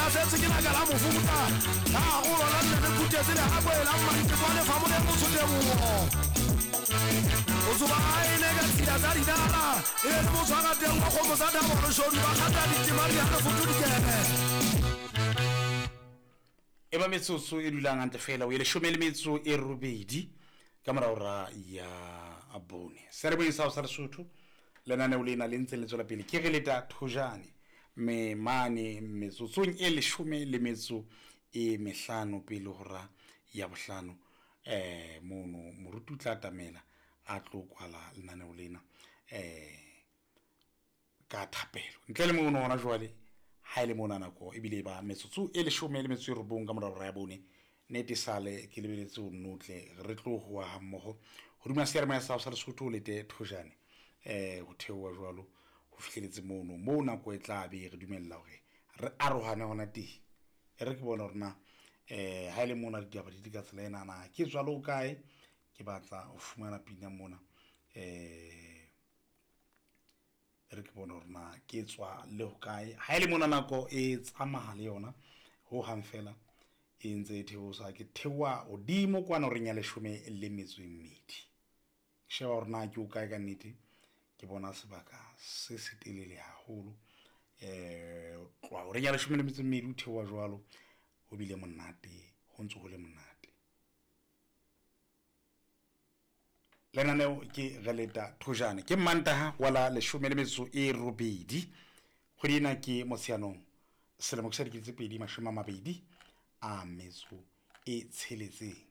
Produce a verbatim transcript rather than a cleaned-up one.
Lahletswe ke naka la mofuta la golo la nne le khutetse legakoe la mmantekwane fa mone motho tebogo o tsoba a ene ka tshila tsa dinala e be le motshwara teng wa kgomo tsa thabološodu ba kgata ditema dihalefotho dikene. E ba metsotso e dulang hantle fela o e leshome le metso e robedi ka morao ra ya bone. Serebeng sa sa Lesotho lenaneo lena le ntse le tswela pele ke re leta thojane me mane metsotsong e leshome le metso e mehlano pele hora ya bohlano eh mono moruti o tla atamela a tlo kwala lenaneo lena eh ka thapelo. Ntle le mono hona jwale ha ile mona nako ebile ba metsotso e leshome le metso e robong ka morao ra ya bone nete sale ke lebeletse o notle re tlo hoa ha mmoho hodima seyalemoya sa sa Lesotho le te thojane eh ho theoha jwalo ho fihleletse mono moo nako e tla be re dumella hore re arohane hona teng. E re ke bona hore na eh ha ile mona ditaba di ka tsela ena na ke tswa le ho kae ke batla ho fumana pina mona eh re ke bona hore na ke tswa le ho kae ha ile mona nako e tsamaya le yona ho hang fela e ntse e theosa ke theoha hodimo kwana horeng ya leshome le metso e mmedi. Sheba hore na ke o kae ka nnete ke bona sebaka se setelele haholo eh tloha horeng ya leshome le metso e mmedi o theoha jwalo ho bile monate ho ntse ho le monate. Lenaneo ke re leta thojane ke Mantaha wa la leshome le metso e robedi kgwedi ena ke Motsheanong selemo ke sa dikete tse pedi mashome a mabedi a metso e tsheletseng.